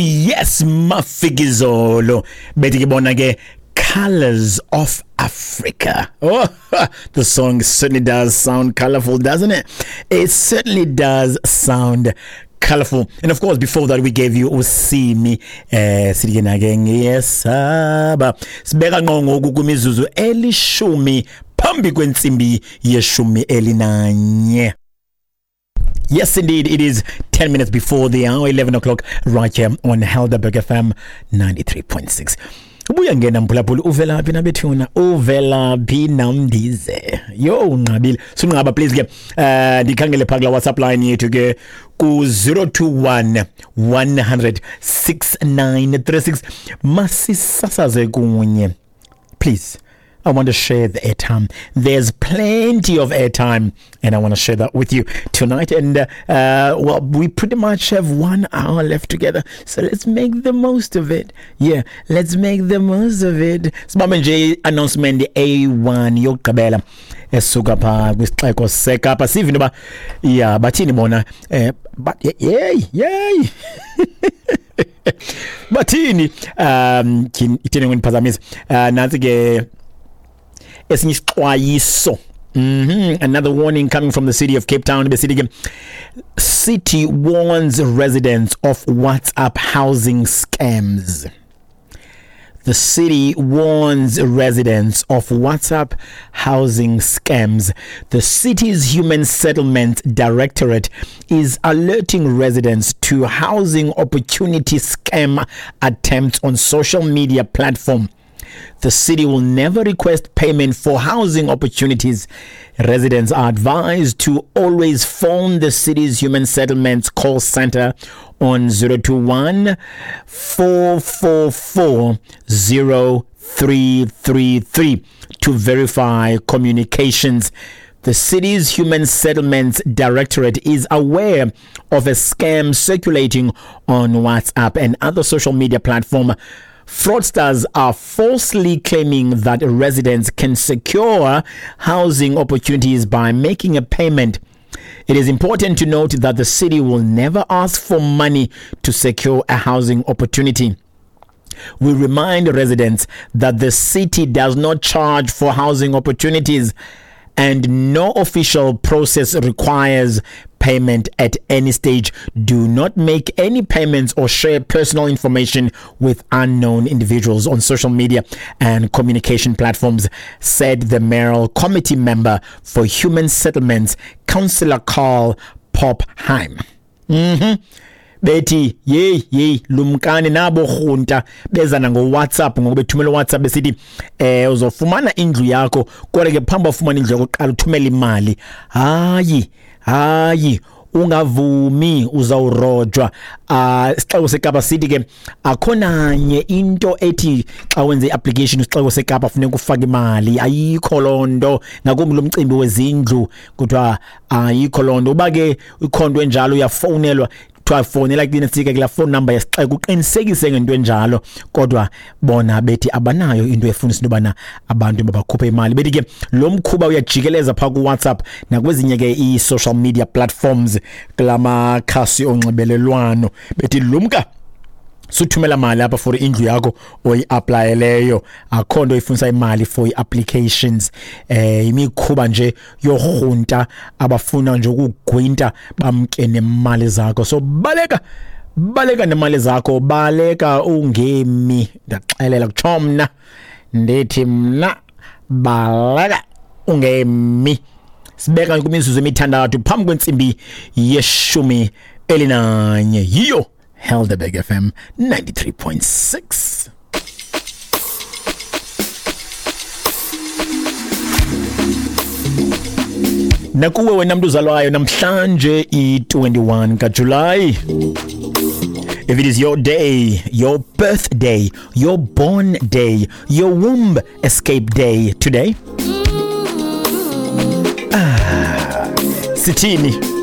Yes, Mafikizolo. Bethi ke bona ke Colors of Africa. Oh, the song certainly does sound colorful, doesn't it? It certainly does sound colorful. And of course, before that, we gave you Usimi. Sithi ke nake ngiyesaba. Sibeka ngqo ngoku kwimizuzu 10 phambi kwentsimbi yeshumi elinanye. Yes, indeed, it is 10 minutes before the hour, 11 o'clock, right here on Helderberg FM 93.6. Ubuya ngena mphulaphula, uvela phi nabethuna? Uvela phi namndize? Yo, unqabile. Sunqaba please ke. Ndikhangele pha kula WhatsApp line yethu ke ku 021 100 6936. Masisasaze kunye. Please. I want to share the airtime. There's plenty of airtime, and I want to share that with you tonight. And well, we pretty much have 1 hour left together, so let's make the most of it. Yeah, let's make the most of it. Sibambe nje announcement A1 yokugqibela esuka pha kwisixeko seKapa. Sive into yoba ya bathini bona, yey yey bathini, ithini ngondiphazamisa. Nantsi ke esinye isixwayiso. Another warning coming from the city of Cape Town. The city warns residents of WhatsApp housing scams. The city warns residents of WhatsApp housing scams. The city's Human Settlement Directorate is alerting residents to housing opportunity scam attempts on social media platform. The city will never request payment for housing opportunities. Residents are advised to always phone the city's Human Settlements call center on 021 444 0333 to verify communications. The city's Human Settlements Directorate is aware of a scam circulating on WhatsApp and other social media platforms. Fraudsters are falsely claiming that residents can secure housing opportunities by making a payment. It is important to note that the city will never ask for money to secure a housing opportunity. We remind residents that the city does not charge for housing opportunities and no official process requires payment at any stage. Do not make any payments or share personal information with unknown individuals on social media and communication platforms, said the mayoral committee member for Human Settlements, Councillor Carl Pophaim. Bethi yeyi yeyi lumkani nabo rhunta bezana ngo-WhatsApp, ngoku bethumela WhatsApp besithi uzofumana indlu yakho, kodwa ke phambi ufumana indlu yakho qala uthumele imali. Hayi hayi, ungavumi, uzawurojwa. Isixeko seKapa sithi ke akho nanye into ethi xa wenze i-application isixeko seKapa funeka ufake imali. Ayikho loo nto, ngakumbi lo mcimbi wezindlu kuthiwa ayikho loo nto. Uba ke ikhona into enjalo uyafowunelwa, kuthiwa fowunela kunesike kulaa phone number yesixeko uqinisekise ngento enjalo. Kodwa bona bethi abanayo into efunisa into yobana abantu mabakhuphe imali. Bethi ke lo mkhuba uyajikeleza phaa kuWhatsApp nakwezinye ke ii-social media platforms kula makhasi onxibelelwano. Bethi lumka, suthumela mali apha for indlu yakho oyi-aplayeleyo. Akho nto ifunisa imali for i-applications. Imikhuba nje yorhunta abafuna nje ukugwinta bamke nemali zakho. So baleka, baleka nemali zakho, baleka ungemi. Ndaxelela kutsho mna, ndithi mna baleka ungemi. Sibeka kwimizuzu emithandathu phambi kwentsimbi 11. Yiyo Helderberg FM 93.6. Nakuwe wena mntu uzalwayo namhlanje i-21 kaJulayi. If it is your day, your birthday, your born day, your womb escape day today, sithini?